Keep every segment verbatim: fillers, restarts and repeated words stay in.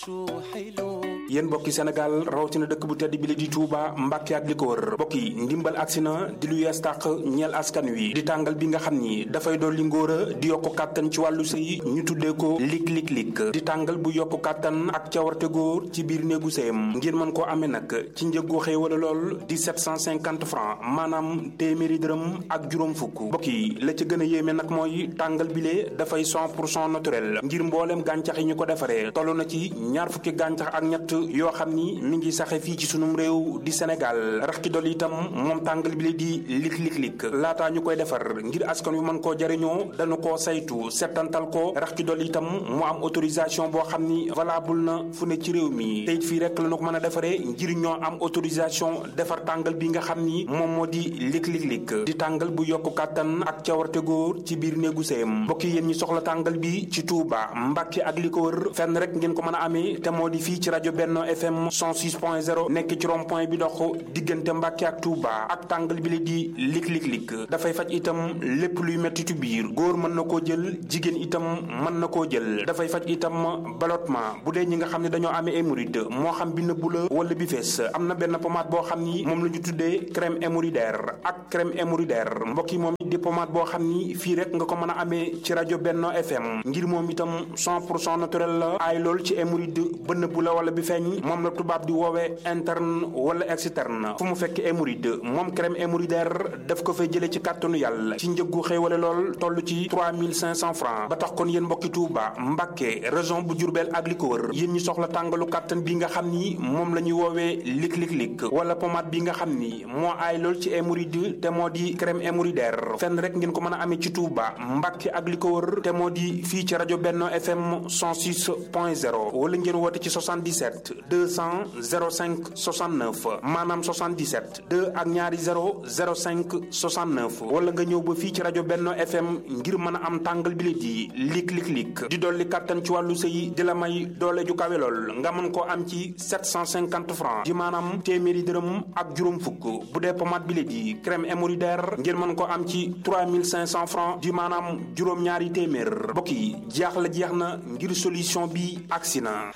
yéen mbokki Sénégal rawatina dëkk bu tedd bi la di Touba Mbàkke ak li ko wër mbokk yi ndimbal agsi na di lu yees tàq ñeel askan wi di tàngal bi nga xam ni dafay dolli ngóora di yokku kàttan ci wàllu sëy ñu tuddee ko lik lik lik di tàngal bu yokku kàttan ak cawarte góor ci biir néegu sëyam ngir mën koo amee nag ci njëggu xëy wala lool di sept cent cinquante francs maanaam téeméeri dërëm ak juróom fukk mbokk yi la ca gën a yéeme nag mooy tàngal bi lee dafay cent pour cent naturel ngir mbooleem gàncax yi ñu ko defaree toll na ci ñaar fukki gàncax ak ñett yoo xam ni mi ngi saxe fii ci sunum réew di Sénégal rax ci dolli itam moom tàngal bi la di lik lik lik laataa ñu koy defar ngir askan wi mën koo jariñoo dañu koo saytu settantal ko rax ci dolli itam mu am autorisation boo xam ni valable na fu ne ci réew mi te it fii rek la ñu ko mën a defaree ngir ñoo am autorisation defar tàngal bi nga xam ni moom moo di lik lik lik di tàngal bu yokku kàttan ak cawarte góor ci biir néegu sëyam mbokk yi yéen ñi soxla tàngal bi ci Touba Mbàkke ak li ko wër fenn rek ngeen ko mën a amee te moo di fii ci rajo Benno F M cent six point zéro nekk ci rond point bi dox diggante Mbàkke ak Touba ak tàngal bi la di lik lik lik dafay faj itam lépp luy mettitu biir góor mën na koo jël jigéen itam mën na koo jël dafay faj itam ballottement bu dee ñi nga xam ne dañoo amee hémorroïde moo xam bi nëbbu la wala bi fees am na benn pommade boo xam ni moom la ñu tuddee crème hémorroïdaire ak crème hémorroïdaire mbokk yi moom di pommade boo xam ni fii rek nga ko mën a amee ci rajo Benno F M ngir moom itam cent pour cent naturel la aay lool ci hémorroïde ba nëbbu la wala bi feeñ moom la tubaab di woowee interne wala externe fu mu fekk hémorroïde moom crème hémorroïdaire daf ko fay jëlee ci kàttanu yàlla ci njëggu xéewale lool toll ci trois mille cinq cents francs ba tax kon yéen mbokki Touba Mbàkke région bu Diourbel ak li ko wër yéen ñi soxla tàngalu kàttan bi nga xam ni moom la ñuy woowee lik lik lik wala pommade bi nga xam ni moo aay lool ci hémorroïde te moo di crème hémorroïdaire fenn rek ngeen ko mën a amee ci Touba Mbàkke ak li ko wër te moo di fii ci rajo Benno F M cent six point zéro wala ngeen woote ci soixante-dix-sept deux cent zéro cinq soixante-neuf maanaam soixante-dix-sept deux ak ñaari zéro zéro cinq soixante-neuf wala nga ñëw ba fii ci rajo Benno F M ngir mën a am tàngal bi la di lik lik lik di dolli kàttan ci wàllu sëy di la may doole ju kawe lool nga mën koo am ci sept cent cinquante francs di maanaam téeméeri dërëm ak juróom fukk bu dee pommade bi la di crème hémorroïdaire ngir mën koo am ci trois mille cinq cents francs di maanaam juróom-ñaari téeméer mbokk yi jeex la jeex na ngir solution bi agsi na.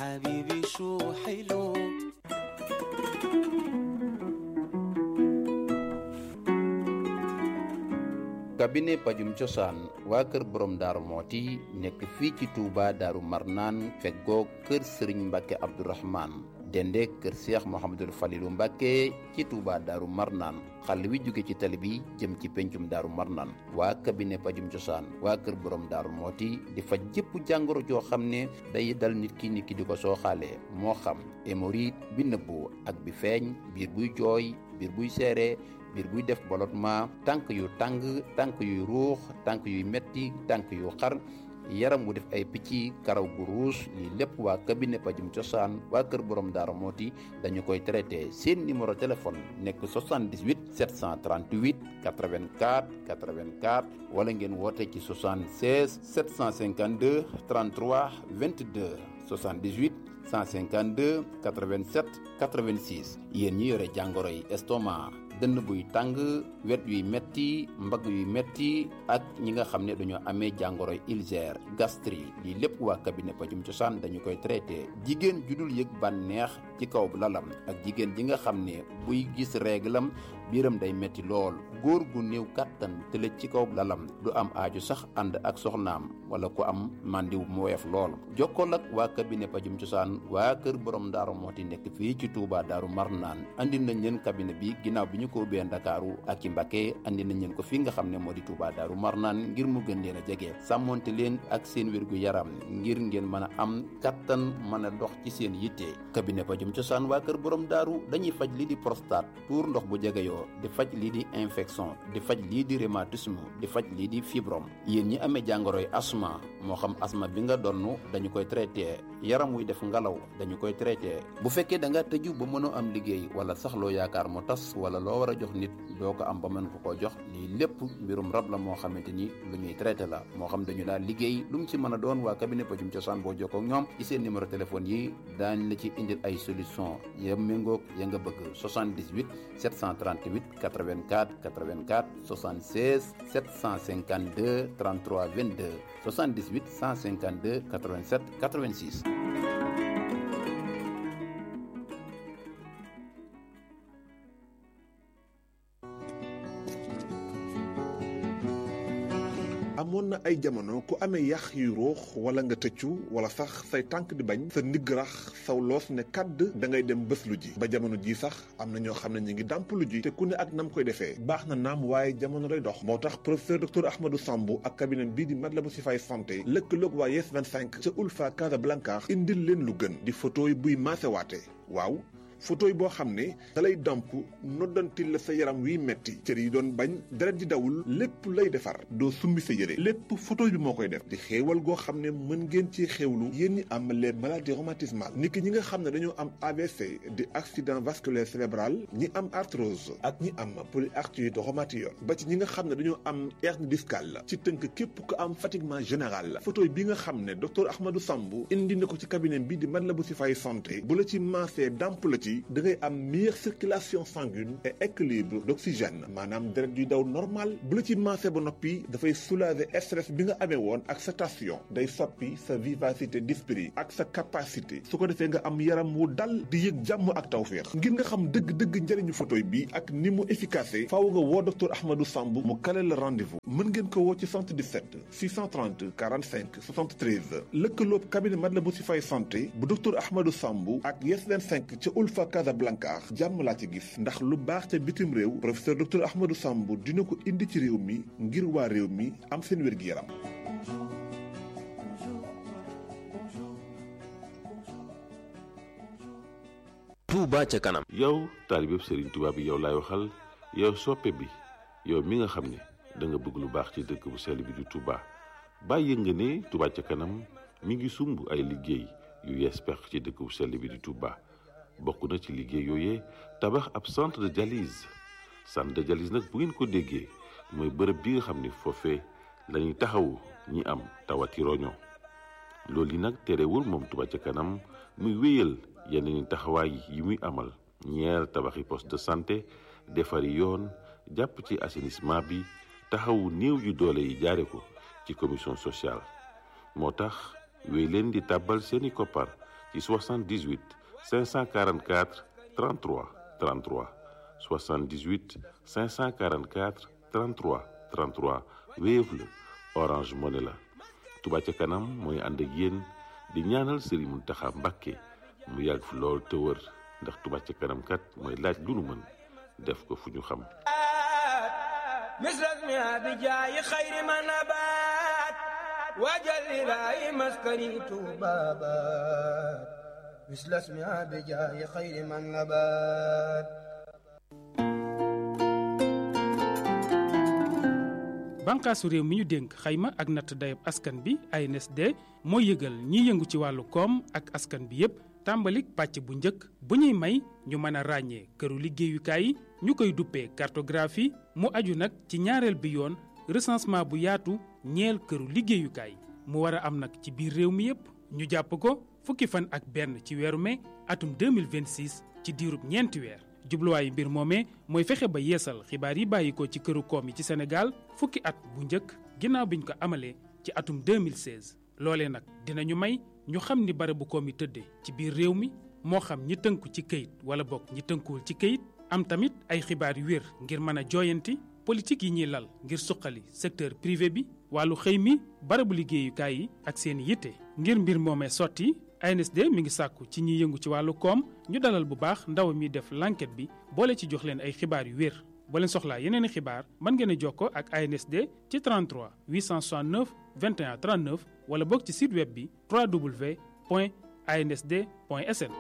cabinet pajum cosaan waa kër borom daaru mooti nekk fii ci Touba daaru marnaan feggoo kër sëriñ Mbàkke Abdourahman dende kër Cheikh Mouhamadul Falilu Mbàkke ci Touba daaru marnaan xàll wi jóge ci tali bi jëm ci pencum daaru marnaan waa cabinet pajum cosaan waa kër borom daaru mooti di faj jëpp jàngoro joo xam ne day dal nit ki nit ki di ko sooxaalee moo xam hémorroïde bi nëbbu ak bi feeñ biir buy jooy biir buy seere biir buy def ballottement tànk yu tàng tànk yuy ruux tànk yuy metti tànk yu xar yaram wu def ay picc karaw gu ruus lii lépp waa cabinet pajum cosaan waa kër borom daara mooti dañu koy traité seen numéro téléphone nekk soixante-dix-huit sept cent trente-huit quatre-vingt-quatre quatre-vingt-quatre wala ngeen woote ci soixante-seize sept cent cinquante-deux trente-trois vingt-deux soixante-dix-huit cent cinquante-deux quatre-vingt-sept quatre-vingt-six yéen ñi yore jàngoro yi estomac dënn buy tàng wet yuy metti mbagg yuy metti ak ñi nga xam ne dañoo amee jàngoro ulcère gastrique lii lépp waa cabinet pajum cosaan dañu koy traité jigéen ju dul yëg bànneex ci kaw lalam ak jigéen ji nga xam ne buy gis réglam biiram day metti lool góor gu néew kàttan tëlëj ci kaw lalam du am aaju sax ànd ak soxnaam wala ku am màndiw mu woyof lool jokkool ak waa cabinet pajum cosaan waa kër borom daaru mooti nekk fii ci Touba daaru marnaan andi nañ leen cabinet bi ginnaaw bi ñu ko ubbee Ndakaaru ak ci Mbacké andi nañ leen ko fi nga xam ne moo di Touba daaru marnaan ngir mu gën leen a jege sàmmonte leen ak seen wérgu yaram ngir ngeen mën a am kattan mën a dox ci seen yitte cabinet pajum cosaan waa kër borom daaru dañuy faj lii di prostate tuur ndox bu jegeyoo di faj lii di infection di faj lii di rhumatisme di faj lii di fibrome yéen ñi amee jàngoroy asma moo xam asma bi nga donn dañu koy traité yaram wuy def ngalaw dañu koy traité bu fekkee da nga tëju ba mënoo am liggéey wala sax loo yaakaar mu tas wala loo war a jox nit doo ko am ba mën ko koo jox lii lépp mbirum rab la moo xamante ni lu ñuy traité la moo xam dañu daal liggéey lu mu ci mën a doon waa cabinet pajum cosaan boo jokkoo ak ñoom ci seen numéro téléphone yi daañ la ci indil ay solution ya méngoog ya nga bëgg soixante-dix-huit sept cent trente-huit quatre-vingt-quatre quatre-vingt-quatre soixante-seize sept cent cinquante-deux trente-trois vingt-deux soixante-dix-huit cent cinquante-deux quatre-vingt-sept quatre-vingt-six amoon na ay jamono ku amee yax yu ruux wala nga tëccu wala sax say tànk di bañ sa ndigg rax saw loos ne kàdd da ngay dem bés lu ji ba jamono ji sax am na ñoo xam ne ñu ngi dàmp lu ji te ku ne ak nam koy defee baax na naam waaye jamono lay dox moo tax professeur docteur Ahmadou Sambou ak cabinet bii di Matlaboul Chifaay santé lëkkaloog waa Yes vingt-cinq ca Ulfa Casablanca indil leen lu gën di photo yi buy maasewaate waaw photo yi boo xam ne dalay damp noddantil la sa yaram wiy metti cër yi doon bañ deret di dawul lépp lay defar doo summi sa yére lépp photo bi moo koy def di xéewal goo xam ne mën ngeen ci xéewlu yéen ñi am les maladies rhumatismales niki ñi nga xam ne dañoo am A V C di accident vasculaire cérébral ñi am arthrose ak ñi am polyarthrite rhumatoïde ba ci ñi nga xam ne dañoo am hernie discale ci tënk képp ku am fatiguement général photo bi nga xam ne docteur Ahmadou Sambou indi na ko ci cabinet bi di Matlaboul Chifaay santé bu la ci maasee damp la ci da ngay am meilleure circulation sanguine et équilibre d'oxygène maanaam deret yuy daw normal bu la ci maase ba noppi dafay soulager stress bi nga amee woon ak sa tension day soppi sa vivacité d'esprit ak sa capacité su ko defee nga am yaram wu dal di yëg jàmm ak tawféex ngir nga xam dëgg-dëgg njëriñu photoy bi ak ni mu efficace faaw nga woo docteur Ahmadou Sambou mu kale la rendez-vous mën ngeen ko woo ci soixante-dix-sept six cent trente quarante-cinq soixante-treize lëkkaloob cabinet Matlaboul Chifaay santé bu docteur Ahmadou Sambou ak Yes vingt-cinq ca Ulfa Casablanca jàmm laa ci gis ndax lu baax ca bitim réew professeur docteur Ahmadou Sambou dina ko indi ci réew mi ngir waa réew mi am seen wér-gi-yaram. Touba ca kanam. yow taalibeb Serigne Touba bi yow laay waxal yow soppe bi yow mi nga xam ne da nga bëgg lu baax ci dëkk bu sell bi di Touba bàyyi nga ne Touba ca kanam mi ngi sumb ay liggéey yu yees pex ci dëkk bu sell bi di Touba. bokk na ci liggéey yooyee tabax ab centre de dialyse centre de dialyse nag bu ngeen ko déggee mooy bërëb bi nga xam ni foofee lañuy taxawu ñi am tawati roño loolu yi nag terewul moom Touba ca kanam muy wéyal yeneen taxawaay yi muy amal ñeer tabaxi poste de santé defari yoon jàpp ci assainissement bi taxawu néew yu doole yi jaare ko ci commission sociale moo tax wéy leen di tàbbal seeni koppar ci soixante-dix-huit cinq cent quarante-quatre trente-trois trente-trois soixante-dix-huit cinq cent quarante-quatre trente-trois trente-trois Wave la Orange Money la Touba ca kanam mooy ànd ak yéen di ñaanal Serigne Mountakha Mbacké mu yàgg fi lool te wër ndax Touba ca kanam kat mooy laaj lu nu mën def ko fu ñu xam misras mi abijaayi xayri ma nabaat waajal ilaahi maskani tuubaabaat misras mi abijaayi xayri ma nabaat. bànqaasu réew mi ñu dénk xayma ak natt dayab askan bi A N S D mooy yëgal ñiy yëngu ci wàllu koom ak askan bi yépp tàmbalik pàcc bu njëkk bu ñuy may ñu mën a ràññee këru liggéeyukaay yi ñu koy duppee cartographie mu aju nag ci ñaareel bi yoon recensement bu yaatu ñeel këru liggéeyukaay mu war a am nag ci biir réew mi yépp ñu jàpp ko fukki fan ak benn ci weeru mai atum deux mille vingt-six ci diirub ñeenti weer jubluwaayu mbir moomee mooy fexe ba yeesal xibaar yi bàyyi ko ci këru koom yi ci Sénégal fukki at bu njëkk ginnaaw biñ ko amalee ci atum deux mille seize loolee nag dinañu may ñu xam ni barabu koom yi tëddee ci biir réew mi moo xam ñi tënku ci këyit wala bokk ñi tënkuwul ci këyit am tamit ay xibaar yu wér ngir mën a jooyanti politique yi ñuy lal ngir suqali secteur privé bi wàllu xëy mi barabu liggéeyukaay yi ak seen yitte ngir mbir moomee sotti A N S D mi ngi sàkku ci ñiy yëngu ci wàllu koom ñu dalal bu baax ndaw mi def l'enquête bi boole ci jox leen ay xibaar yu wér boo leen soxlaa yeneen i xibaar mën ngeen a jokkoo ak A N S D ci trente-trois huit cent soixante-neuf vingt et un trente-neuf wala bokk ci site web bi w w w point a n s d point s n.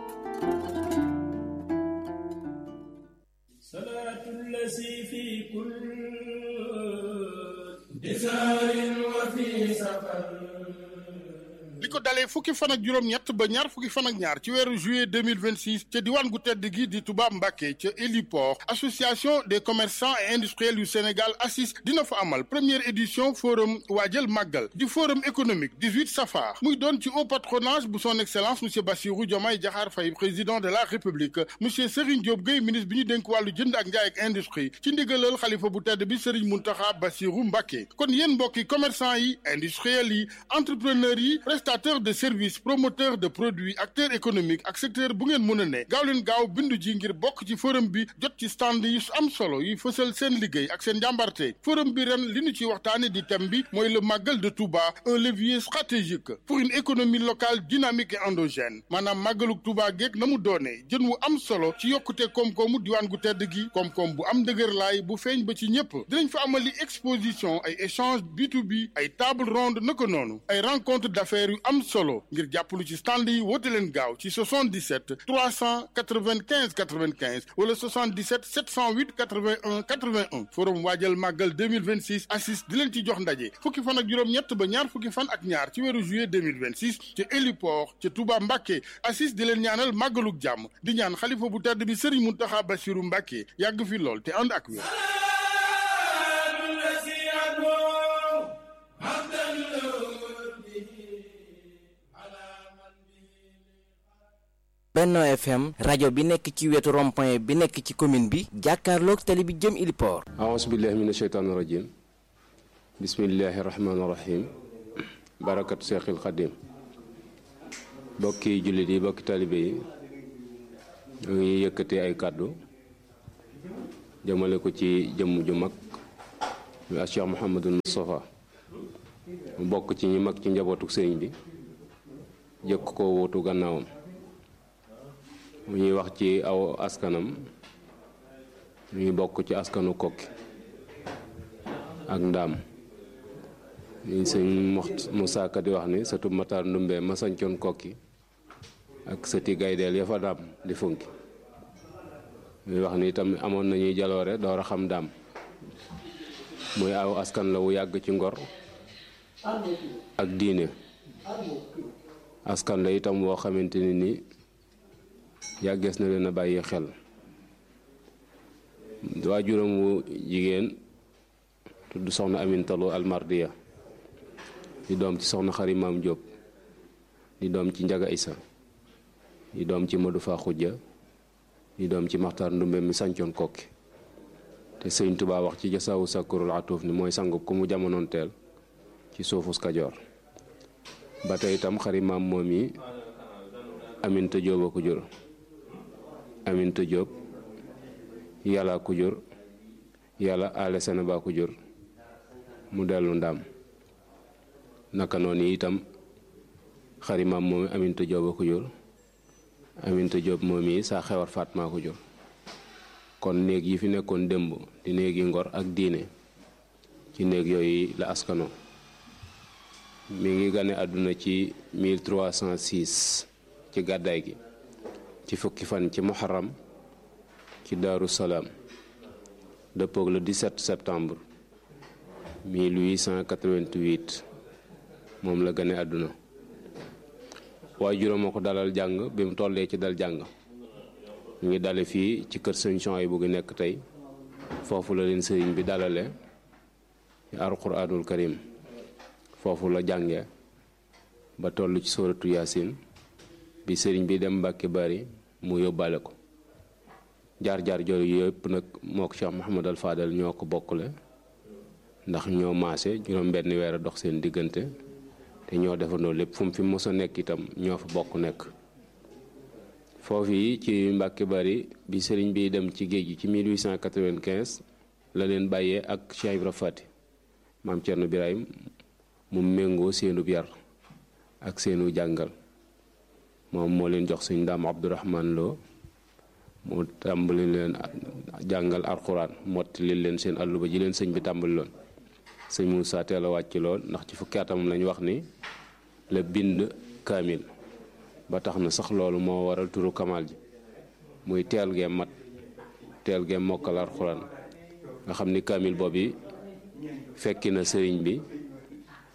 li ko dalee fukki fan ak juróom-ñett ba ñaar fukki fan ak ñaar ci weeru juillet deux mille vingt-six ca diwaan gu tedd gi di Touba Mbacké ca héliport association des commerçants et industriels yu Sénégal A C I S dina fa amal première édition forum waajal màggal di forum économique dix-huit safar muy doon ci haut patronage bu son excellence monsieur Bassirou Diomaye Diakhar Faye président de la république monsieur Serigne Diop Gueye ministre bi ñu dénk wàllu jënd ak njaay ak industrie ci ndigalal xalifa bu tedd bi Serigne Mountakha Bassirou Mbacké kon yéen mbokki commerçant yi industriels yi entrepreneurs yi prestataires de services promoteurs de produits acteurs économiques ak secteur bu ngeen mën a ne gaaw leen gaaw bindu ji ngir bokk ci forum bi jot ci stand yi am solo yi fësal seen liggéey ak seen njàmbarte forum bi ren li ñu ci waxtaane di thème bi mooy le Magal de Touba un levier stratégique pour une économie locale dynamique et endogène maanaam màggaluk Touba geeg na mu doonee jën wu am solo ci yokkute koom-koomu diwaan gu tedd gi koom-koom bu am dëgër laay bu feeñ ba ci ñëpp dinañ fa amali exposition ay échange B to B ay table ronde naka noonu ay rencontre d'affaires yu am solo ngir jàppalu ci stand yi woote leen gaaw ci soixante-dix-sept trois cent quatre-vingt-quinze quatre-vingt-quinze wala soixante-dix-sept sept cent huit quatre-vingt-un quatre-vingt-un forum waajal màggal deux mille vingt-six assis di leen ci jox ndaje fukki fan ak juróom-ñett ba ñaar fukki fan ak ñaar ci weeru juillet deux mille vingt-six ci héliport ci Touba Mbacké assis di leen ñaanal màggaluk jàmm di ñaan xalifa bu tedd bi Serigne Mountakha Bassirou Mbacké yàgg fi lool te ànd ak wér. Benno F M rajo bi nekk ci wetu rond-point bi nekk ci commune bi jàkkaarloog tali bi jëm Iliport. aouzu billahi mina sheytaani rajim bismillahi rahmaani rahim barakatu seexil xadim bokki jullit yi bokki talibe yi ñu ngi yëkkati ay kàddu jëmale ko ci jëmm ju mag ñu ak Cheikh Mouhamadul Moustapha mu bokk ci ñi mag ci njabootu sëriñ bi jëkk ko wóotu gannaawam mu ñuy wax ci aw askanam ñuy bokk ci askanu kokki ak ndaam ñuy sëñ Moussa Ka di wax ni sëtu Matar Ndumbe ma sañcoon kokki ak sëti gaydeel ya fa daam di funki ñuy wax ni itam amoon nañuy jaloore door a xam daam muy aw askan la wu yàgg ci ngor ak diine askan la itam woo xamante ni ni yàggees na leen a bàyyi xel waajuram wu jigéen tudd soxna Amintalu Almardiya di doom ci soxna Xari Maam Jóob di doom ci Njaga Isa di doom ci Madu Fa Xujja di doom ci Maxtaar Ndumbe mi sancoon kokki te sëñ Tuubaa wax ci jasaawu sakkurul atuuf ni mooy sangu ku mu jamonoon teel ci suufus Kajoor ba tey itam Xari Maam moom yi Aminta Jóob a ko jur Aminta Jóob yàlla ko jur yàlla ale sena ba ko jur mu dellu ndaam naka noonu itam Xari Maam moom Aminta Jóob a ko jur Aminta Jóob moom yi saa xewar Faatma ko jur kon néeg yi fi nekkoon démb di néegi ngor ak diine ci néeg yooyu la askano mi ngi gane àdduna ci mille trois cent six ci gàddaay gi ci fukki fan ci muharram ci Daaru Salaam dëppoog le dix-sept septembre mille huit cent quatre-vingt-huit moom la gane àdduna waajuram moo ko dalal jàng bi mu tollee ci dal jàng ñu ngi dale fii ci kër sëñ Souhaïbou bu nekk tey foofu la leen sëriñ bi dalale ci alquraanul karim foofu la jànge ba toll ci sóoratu yaasin bi sëriñ bi dem Mbàkke Bari mu yóbbaale ko jaar-jaar jooyu yëpp nag moo ko Cheikh Mouhamadal Fadal ñoo ko bokkule ndax ñoo maase juróom benn weer a dox seen diggante te ñoo defandoo lépp fu mu fi mos a nekk itam ñoo fa bokk nekk foofu yi ci Mbàkke Bari bi sëriñ bi dem ci géej gi ci mille huit cent quatre-vingt-quinze la leen bàyyee ak Cheikh Ibra Fati maam Cerno Birahim mu méngoo seenub yar ak seenu jàngal moom moo leen jox sëñ Daam Abdourahman Lo mu tàmbali leen jàngal alxuraan mottali leen seen àlluba ji leen sëñ bi tàmbali loon sëñ Moussa teel a wàcc lool ndax ci fukki atam lañ wax ni la bind kaamil ba tax na sax loolu moo waral turu kamal ji muy teel gee mat teel gee mokkal alxuraan nga xam ni kaamil boobu fekki na sëriñ bi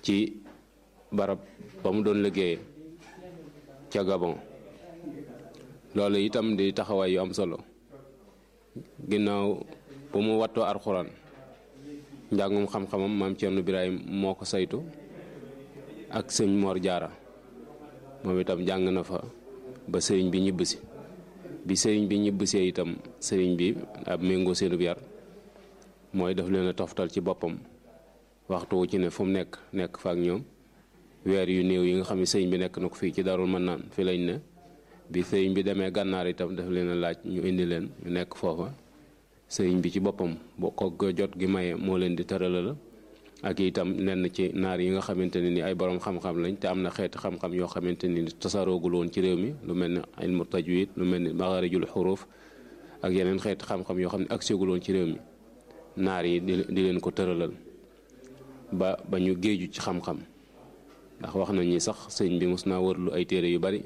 ci barab ba mu doon liggéeye ca Gabon loolu itam di taxawaay yu am solo ginnaaw bu mu wattoo alxuraan njàngum xam-xamam maam Cerno Birahim moo ko saytu ak sëñ Mor Jaara moom itam jàng na fa ba sëriñ bi ñibbisi bi sëriñ bi ñibbisee itam sëriñ bi ab méngoo seenub yar mooy daf leen a toftal ci boppam waxtu wu ci ne fu mu nekk nekk fa ak ñoom weer yu néew yi nga xam ne sëriñ bi nekk na ko fii ci Daarul Mannaan fi lañ ne bi sëriñ bi demee gànnaar itam daf leen a laaj ñu indi leen ñu nekk foofa sëriñ bi ci boppam boo ko jot gi maye moo leen di tëralal ak itam nenn ci naar yi nga xamante ne ni ay borom xam-xam lañ te am na xeeti xam-xam yoo xamante ni tasaaroogul woon ci réew mi lu mel ni ilmu tajwid lu mel ni maxaarijul xuruuf ak yeneen xeeti xam-xam yoo xam ne ak ségul woon ci réew mi naar yi di di leen ko tëralal ba ba ñu géeju ci xam-xam ndax wax nañ ni sax sëñ bi mos naa wërlu ay téere yu bari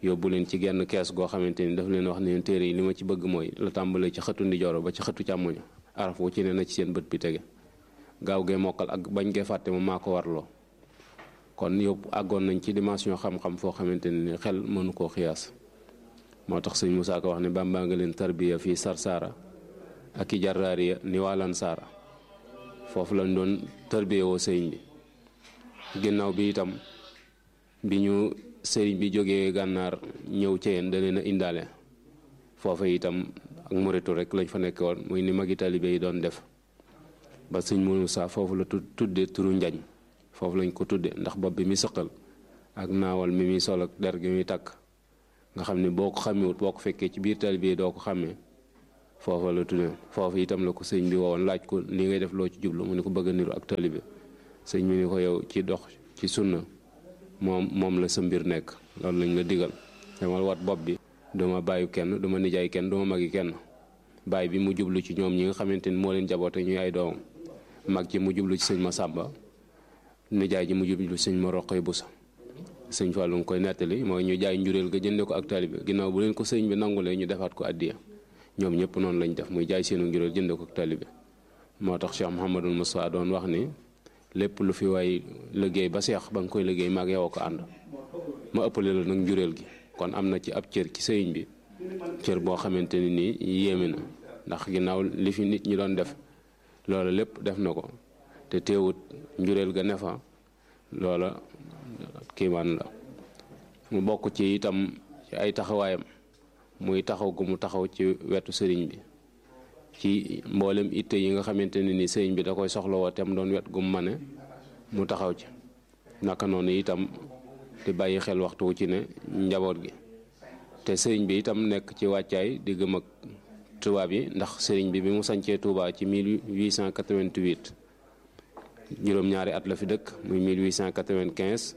yóbbu leen ci genn kees goo xamante ni daf leen wax ne téere yi li ma ci bëgg mooy la tàmbalee ci xëtu ndijooro ba ci xëtu càmmoño araf wu ci ne na ci seen bët bi tege gaaw gee mokkal ak bañ gee fàtte ma maa ko warloo kon yóbbu àggoon nañ ci dimension xam-xam foo xamante ni xel mënu koo xiyaas moo tax sëñ Musaa Ka wax ne Bàmbaa nga leen tarbiya fii sarsaara ak i jarraariya ni waalan saara foofu lañ doon tarbiya woo sëriñ bi ginnaaw bi itam bi ñu sëriñ bi jógee gànnaar ñëw Ceyeen da leen a indaale foofa itam ak muritu rek lañ fa nekk woon muy ni magi taalibe yi doon def ba sëñ Musaa foofu la tudde turu njañ foofu lañ ko tudde ndax bopp bi mi sëqal ak naawal mi muy sol ak der gi muy takk nga xam ne boo ko xamewut boo ko fekkee ci biir taalibe yi doo ko xàmmee foofa la tudde foofu itam la ko sëñ bi wowoon laaj ko li ngay def loo ci jublu mu ne ko bëgg a niru ak taalibe sëñ bi ni ko yow ci dox ci sunna moom moom la sa mbir nekk loolu lañ la digal dama wat bopp bi duma bàyyi kenn duma nijaay kenn duma magi kenn bàyyi bi mu jublu ci ñoom ñi nga xamante ni moo leen jaboote ñuy ay doomam mag ji mu jublu ci sëñ ma sàmba nijaay ji mu jublu ci sëñ ma roqoy busa sëñ Fallu nga koy nettali mooy ñu jaay njureel ga jënde ko ak taalibe ginnaaw bu leen ko sëñ bi nangulee ñu defaat ko addiya ñoom ñëpp noonu lañ def muy jaay seenu njureel jënde ko ak taalibe moo tax Cheikh Mouhamadul Moussa doon wax ni lépp lu fi waay liggéey ba seex ba nga koy liggéey maag yow ko ànd ma ëppale la nag njureel gi kon am na ci ab cër ci sëriñ bi cër boo xamante ni nii yéeme na ndax ginnaaw li fi nit ñi doon def loola lépp def na ko te teewut njureel ga ne fa loola kiimaan la mu bokk ci itam ci ay taxawaayam muy taxaw gu mu taxaw ci wetu sëriñ bi ci mboolem itte yi nga xamante ne ni sëriñ bi da koy soxlawoo te mu doon wet gu mu mane mu taxaw ci naka noonu itam di bàyyi xel waxtu wu ci ne njaboot gi te sëriñ bi itam nekk ci wàccaay di gëm ak tubaab yi ndax sëriñ bi bi mu sancee Touba ci mille huit cent quatre-vingt-huit juróom-ñaari at la fi dëkk muy mille huit cent quatre-vingt-quinze